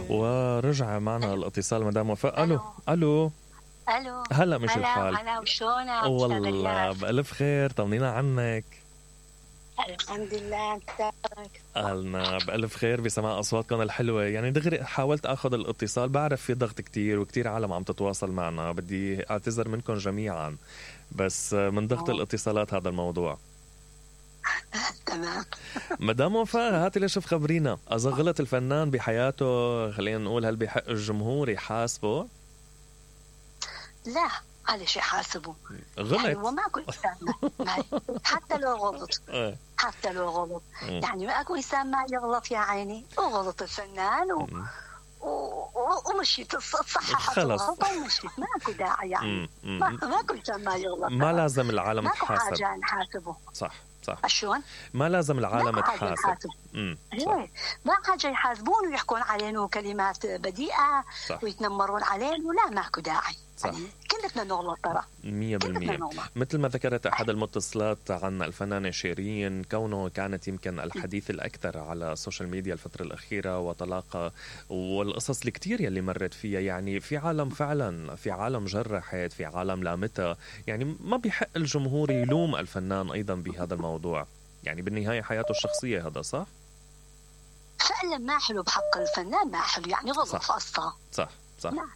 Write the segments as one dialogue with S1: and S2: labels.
S1: ورجع معنا الاتصال مدام وفاء. الو الو
S2: الو
S1: هلا مش الحال؟
S2: هلا وشلونك؟
S1: والله بألف خير، طمنينا عنك.
S2: الحمد لله. انتك؟
S1: أهلنا بألف خير بسماع أصواتكم الحلوة. يعني دغري حاولت أخذ الاتصال، بعرف في ضغط كتير وكتير عالم عم تتواصل معنا، بدي أعتذر منكم جميعا، بس من ضغط الاتصالات هذا الموضوع.
S2: تمام.
S1: مدام وفاء هاتي لشوف خبرينا، إذا غلط الفنان بحياته خلينا نقول هل بحق الجمهور يحاسبه؟
S2: لا، على شيء حاسبه
S1: غلط
S2: يعني، وما كل إنسان حتى لو غلط حتى لو غلط يعني ما أكو إنسان ما يغلط يا عيني. وغلط الفنان ومشيت صححت الغلطة ومشيت، ما أكو داعي يعني. ما كل إنسان ما يغلط،
S1: ما لازم العالم
S2: ما
S1: تحاسب.
S2: ما حاجة نحاسبه.
S1: صح
S2: شلون؟
S1: ما لازم العالم تحاسب.
S2: ما حاجة يحاسبون ويحكون علينا كلمات بديئة ويتنمرون علينا، ولا ماكو داعي. يعني كلنا نغلط ترى
S1: 100%. مثل ما ذكرت أحد المتصلات عن الفنانة شيرين، كونه كانت يمكن الحديث الأكثر على السوشيال ميديا الفترة الأخيرة، وطلاقة والقصص الكتير يلي مرت فيها. يعني في عالم فعلا، في عالم جرحت، في عالم لامتها. يعني ما بيحق الجمهور يلوم الفنان أيضا بهذا الموضوع، يعني بالنهاية حياته الشخصية. هذا صح؟
S2: فعلا ما حلو بحق الفنان، ما حلو يعني غلط فقصة.
S1: صح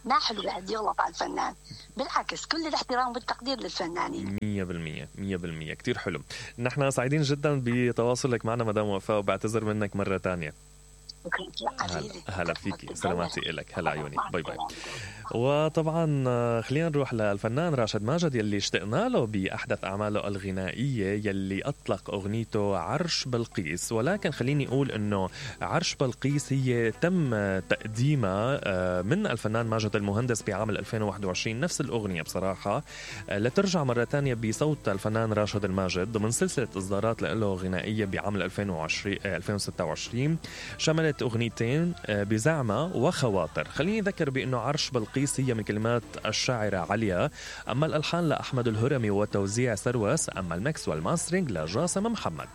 S2: ما حلو بعد يغلط على الفنان، بالعكس كل الاحترام والتقدير للفنانين.
S1: 100% كتير حلو. نحن سعيدين جدا بتواصلك معنا مدام وفاء، وبعتذر منك مرة تانية. هلا فيك، سلاماتي إلك. هلا عيوني، باي باي. وطبعا خلينا نروح للفنان راشد ماجد يلي اشتقنا له بأحدث أعماله الغنائية، يلي أطلق أغنيته عرش بلقيس. ولكن خليني أقول أنه عرش بلقيس هي تم تقديمها من الفنان ماجد المهندس بعام 2021، نفس الأغنية بصراحة، لترجع مرة تانية بصوت الفنان راشد الماجد ضمن سلسلة إصدارات له غنائية بعام 2026 شملت أغنيتين بزعمة وخواطر. خليني أذكر بأنه عرش بلقيس هي من كلمات الشاعرة عليا، أما الألحان لأحمد الهرمي وتوزيع سروس، أما المكس والماسترينج لجاسم محمد.